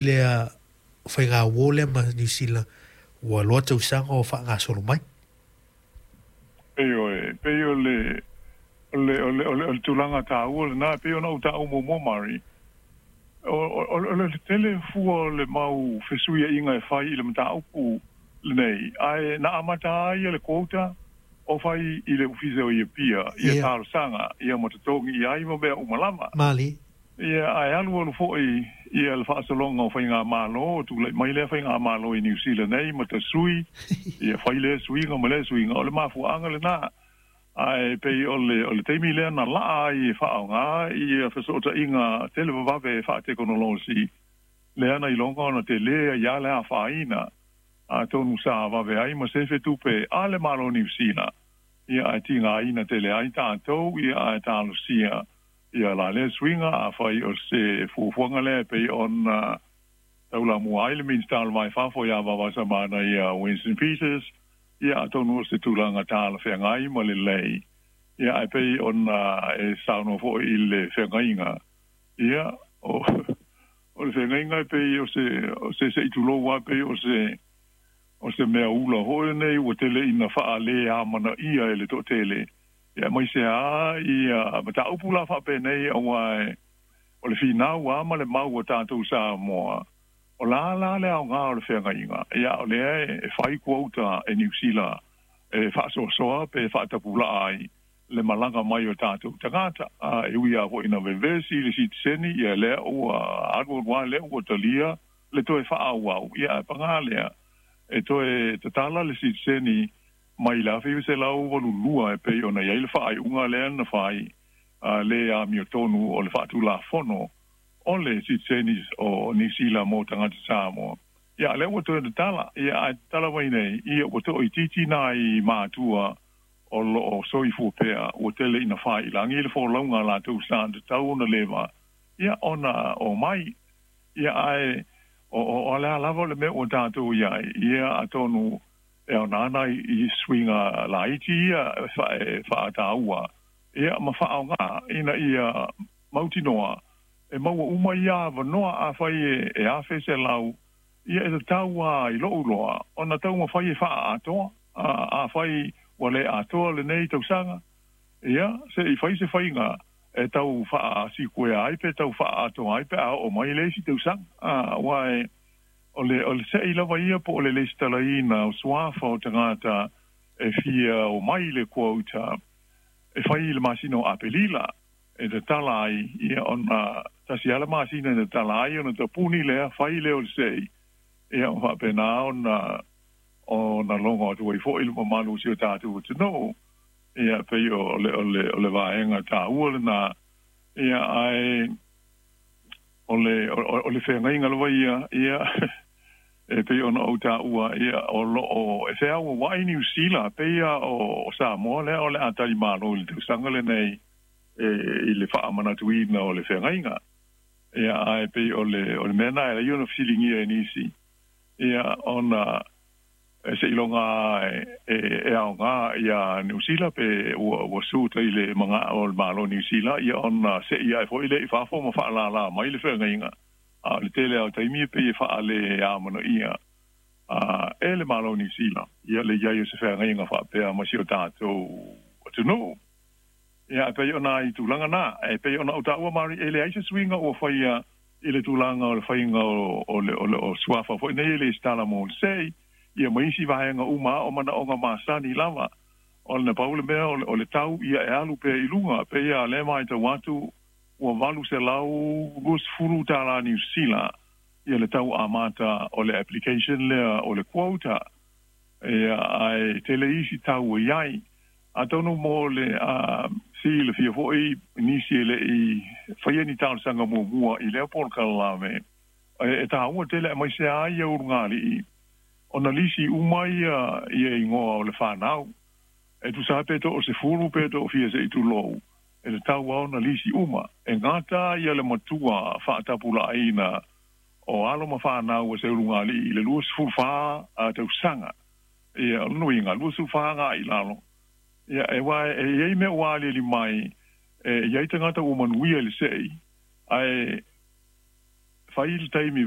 Lea faigauō lea ma Niu Sila ua loa tausaga o faagasolo mai. Ioe, pei o le o le o le o le, o le tulaga taua lena, pei ona ou taua muamua, Mari, o le tele fua o le mau fesuiaiga e fai i le mataupu lenei, ae na amata ai le quota o fai i le ofisa o Apia ia talosaga ia ma totogi i ai ma mea uma lava. Mali. Ia, ae alu alu foi ia le faasologa o faigamalo, tulai mai lea faigamalo i Niu Sila nei ma tasui ia fai lea suiga ma lea suiga, o le mafuaaga lena. Ae pei o le taimi lea na laa ai e faaaoga ia fesootaiga televavave faatekonolosi lea na iloga ona tele ai a le afaina, atonu sa vave ai ma sefe tupe a le Malo Niu Sila ia, ae tigaina tele ai tatou ia, ae talosia ia la lea suiga afai o se fuafuaga lea pei ona taulamua ai le Minisita o le Va i Fafo ia Vaovasamana ia Winston Peters ia, atonu o se tulaga talafeagai ma lelei ia, ae pei ona e saunoa foi i le feagaiga ia, o le feagaiga e pei o se se'i tulou a, pei o se mea ula foi nei ua tele ina faale amanaia e le toatele ia, mai se a ia mataupu la faapenei, aua o le finau a ma le mau o tatou Samoa, o la la le aoga o le feagaiga ia, o lea e fai quota e Niu Sila e faasoasoa pe faatapulaa ai le malaga mai o tatou tagata. A e ui a foi ina vevesi le sitiseni ia, lea ua alu alu a lea ua talia le toe faaauau ia, ae paga lea e toe tatala le sitiseni mai le 1982 e pei ona i ai le faaiuga lea na fai le amiotonu o le faatulafono o le sitiseni o Niu Sila mo tagata Samoa. Ia, lea ua toe tatala ia, ae tatala mai nei ia ua toaitiiti nai matua o loo soifua pea, ua tele ina failagi le folauga a latou sa tatau ona leva ia ona o mai ia, ae o le a lava le mea ua tatou iai ia, atonu e ona ana i suiga laiti ia e faataua ia ma faaaoga ina ia mautinoa e maua uma ia avanoa. Afai e 1,100 ia, e tatau a i lou loa ona taumafai e faaatoa. Afai ua le atoa lenei tausaga ia, se i fai se faiga e tau faasikuea ai pe tau faaatoa ai pe a oo mai le isi tausaga, aua o le se'i lava ia po o le lesitalaina o suafa o tagata e fia o mai le quota e fai i le masina o Apelila e tatala ai ia, ona tasi ala masina e tatala ai ona tapuni lea fai lea o le se'i ia, ma faapena ona logo atu ai foi le mamalu o si o tatou atunuu ia, pei o le vaega taua lena ia. Ae o le feagaiga lava ia ia e pei ona ou taua ia, o loo e feauauai Niu Sila pei a o Samoa lea o le a talimalo i le tausaga lenei e i le faamanatuina o le feagaiga ia. Ae pei o le mea na e lai ona fesiligia e nisi ia, ona e seiloga e aoga ia Niu Sila pe ua suta i le maga o le Malo Niu Sila ia, ona se'i ae foi le i fafo ma faalālā mai le feagaiga. A o le tele o taimi e pei e faale amanaia e le Malo Niu Sila ia le iai o se feagaiga faapea ma si o tatou atunuu ia, e pei ona i tulaga na e pei ona ou taua, Mari, e leai se suiga ua faia i le tulaga o le faiga o suafa foi nei e lesitala mo le se'i ia ma isi vaega uma o manaoga masani lava. O le pau le mea o le tau ia e alu pea i luga, pei a lea matau atu ua $820 Niu Sila ia le tau amata o le application lea o le quota ia, ae tele isi tau e iai. Atonu mo le silafia foi nisi e le'i faia ni talosaga muamua i lea polokalame, e taua tele aemaise a ia ulugalii ona lisi uma ia igoa o le fanau e tusa pe to o 10 pe to o fia se'i tulou, e tatau a ona lisi uma e gata ia le matua faatapulaaina o alo ma fanau o se ulugalii i le 24 tausaga ia, o le nuiga 24 agai i lalo ia, e wa e iai mea ua aliali mai e iai tagata ua manuia i le se'i ae fai le taimi.